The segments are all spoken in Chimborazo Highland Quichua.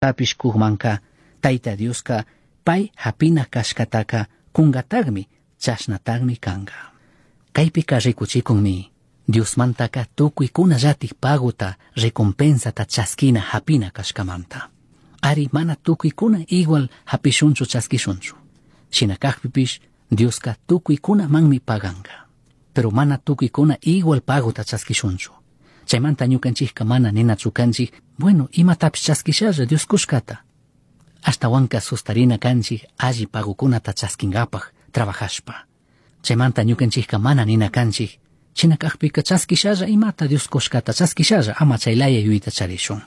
Tapish cujmanca Taita Diosca pai japina cashcataca cungatagmi, chashnatagmi canga. Caipica ricuchicunmi Diosmantaca tucuicunallataj pagota, recompensata chasquina japina cashcamanta. Ari, mana tucuicuna igual japishunchu, chasquishunchu. Shina cajpipish Diosca tucuicunamanmi paganga. Pero mana tucuicuna igual pagota chasquishunchu. Chaimanta ñucanchijca mana ninachu canchij: "Bueno, imatapish chasquishalla Dios cushcata". Ashtahuanca sustarina canchij alli pagocunata chasquingapaj trabajashpa. Chaimanta ñucanchijca mana nina canchij: "Shina cajpica chasquishalla imata Dios cushcata chasquishalla", ama chaylaya yuyayta charishun.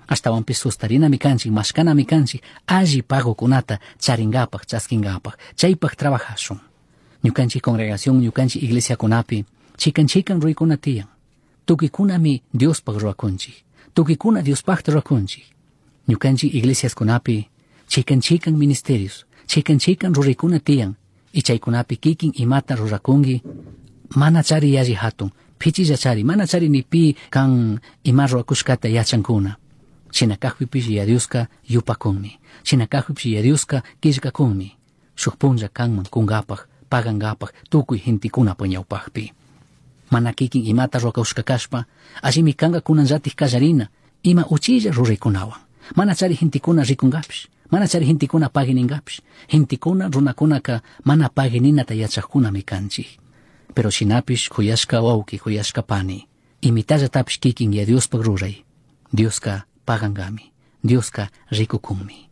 Ashtahuanpish sustarinami canchij, mashcanami canchij alli pagocunata charingapaj, chasquingapaj, chaipaj trabajashun. Ñucanchij congregación, ñucanchij iglesiacunapi chican chican ruraicuna tiyan. Tucuicunami Diospaj ruacunchij. Tucuicuna Diospajta ruacunchij. Ñucanchij iglesiascunapi chican chican ministerios, chican chican ruraicuna tiyan. Y chaicunapi kikin imata ruracungui, mana chari yalli hatun, pichilla chari, mana chari ni pi can ima ruacushcata yachancuna. Shina cajpipish Yaya Dioska yupacunmi. Shina cajpipish Yaya Dioska quillcacunmi. Shuj punlla canman cungapaj, pagangapaj tucui gentecunapa ñaupajpi. Mana kikin imata ruacushca cashpa, allimi canga cunanllataj callarina, ima uchilla ruraicunahuan. Mana chari gentecuna ricungapish, mana chari gentecuna pagui ningapish. Gentecuna, runacunaca mana pagui ninata yachajcunami canchij. Pero shinapish, juyashca huauqui, juyashca pani, imitallatapish kikin Yaya Diospaj rurai. Dioska pagangami, Dioska ricucunmi.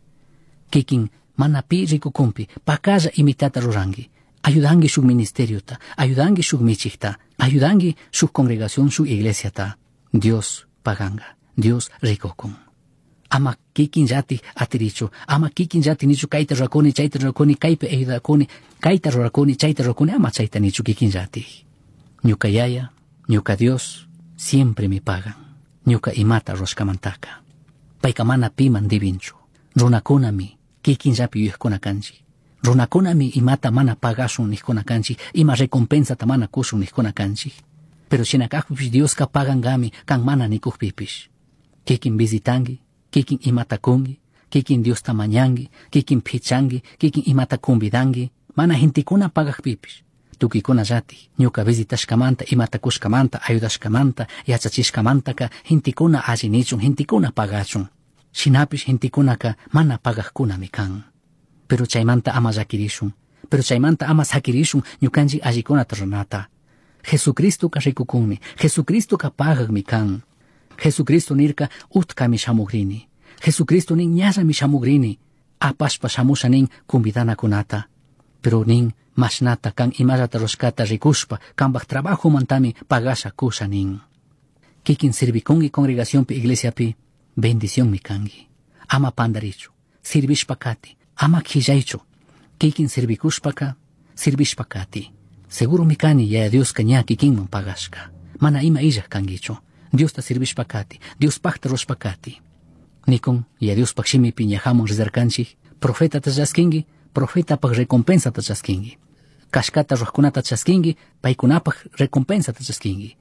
Kikin mana pi ricucunpi, pacalla imitata rurangui. Ayudangui shuk ministeriota, ayudangui shuk michijta, ayudangui shuk congregación, shuk iglesiata. Dios paganga, Dios ricucun. Ama kikinllatik atirichu, ama kikinllatik nichu: "Kayta rurakuni, chayta rurakuni, kaypi ayudakuni, kayta rurakuni, chayta rurakuni", ama chayta nichu kikinllatik. Ñuka Yaya, ñuka Dios siempre me pagan ñuka imata rurashkamantaka. Payka mana piman dibinchu. Runakunami kikinllapi yuyajkuna kanchik. Runakunami imata mana pagashun nijkuna kanchik, ima recompensata mana kushun nijkuna kanchik. Pero shina kajpipish Dioska pagangami kan mana nikujpipish. Kikin visitangi, kikin imata kungi, kikin Diosta mañangi, kikin pichangui, kikin imata convidangui, mana gentekuna pagajpipish. Tucuicuna llatik ñuka visitashkamanta, imata kushkamanta, ayudashkamanta, yachachishkamantaka gentekuna alli nichun, gentekuna pagachun. Shinapish gentekunaka mana pagajkunami kan. Pero chaymanta ama llakirishun, pero chaymanta ama sakirishun ñukanchik allikunata ruranata. Jesucristoka rikukunmi, Jesucristoka pagajmi kan. Jesucristo nirka: "Utkami shamugrini". Jesucristo nin: "Ñallami shamugrini". Apashpa shamusha nin convidanakunata. Pero nin: "Mashnata kan imallata rurashkata rikushpa, kanpaj trabajomantami pagasha kusha" nin. Kikin sirvikunki congregacionpi, iglesiapi, bendicionmi kanki. Ama pandarichu, sirvishpa kati, ama quillaychu. Kikin sirvikushpaka, sirvishpa kati. Seguromi kani Yaya Dioska ña kikinman pagashka. Mana ima illaj kankichu. Diosta sirvishpa kati, Diospajta rurashpa kati. Nikun, Yaya Diospaj shimipi ñajaman rizarkanchik, profetata chaskinki, profetapaj recompensata chaskinki. Kashkata rurajkunata chaskinki, paykunapaj recompensata chaskinki.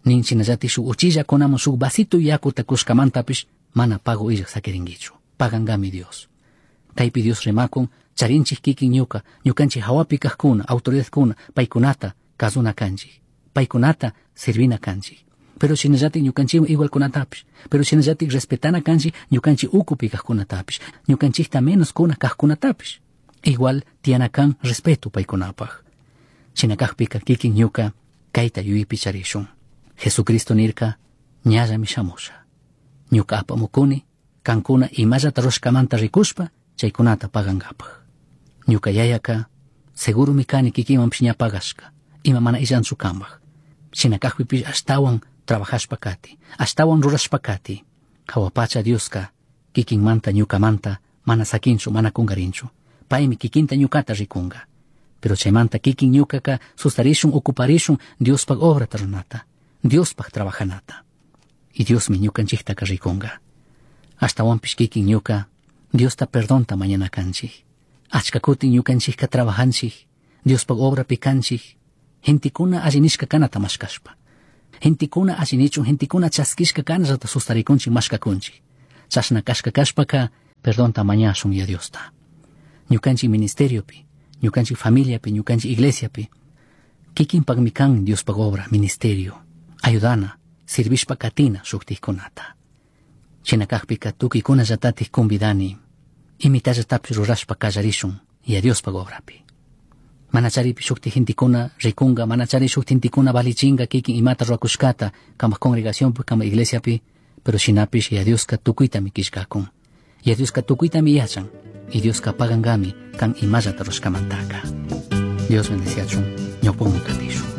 Nin shinallatik shuk uchillakunaman shuk vasito yakuta kushkamantapish mana pago illaj sakirinkichu. Pagangami Dios. Kaypi Dios rimakun, charinchik kikin ñuka, ñukanchik hawapi kajkuna, autoridadkuna, paykunata kazuna kanchik. Paykunata sirvina kanchik. Pero shinallatik ñukanchikwan igualkunatapish, pero shinallatik respetana kanchik ñukanchik ukupi kajkunatapish, ñukanchikta menos kuna kajkunatapish. Igual tiyana kan respeto paykunapaj. Shina kajpika kikin ñuka kayta yuyaypi charishun. Jesucristo nirka: "Ñallami shamusha. Ñuka apamukuni kankuna imallata rurashkamanta rikushpa chaykunata pagankapaj". Ñuka Yayaka seguromi kani kikinmanpish ña pagashka, ima mana illanchu kanpaj. Shina kajpipish ashtawan trabajashpa kati, ashtawan rurashpa kati. Jahua pacha Dioska kikinmanta ñukamanta mana sakinchu, mana kungarinchu. Paymi kikinta ñukata rikunga. Pero chaymanta kikin ñukaka sustarishun, ocuparishun Diospaj obrata ruranata, Diospaj trabajanata. Y Diosmi ñukanchiktaka rikunga. Ashtawanpish kikin ñuka Diosta perdonta mañana kanchik. Achka kutin ñukanchikka trabajanchik, Diospaj obrapi kanchik, gentekuna alli nishka kanata mashkashpa. Gentekuna alli nichun, gentekuna chaskishka kanallata sustarikunchik, mashkakunchik. Chashna kashka kashpaka. Perdonta mañashun Yaya Diosta. Ñukanchik ministeriopi, ñukanchik familiapi, ñukanchik iglesiapi, kikinpakmi kan Diospaj obra, ministerio, ayudana, sirvishpa katina shuktikkunata. Shina kakpika tukuykunallatatik convidani, imitallatapish rurashpa kallarishun Yaya Diospaj obrapi. Manacharipi shukti gentekuna rikunga, manachari shukti gentekuna valichinga kikin imata rurakushkata, kamak congregacionpi, kamak iglesiapi, pero shinapish Yaya Dioska tukuytami killkakun. Yaya Dioska tukuytami yachan, y Dioska pagankami kan imallata rurashkamantaka. Dios bendeciachun, ñawpakman katishun.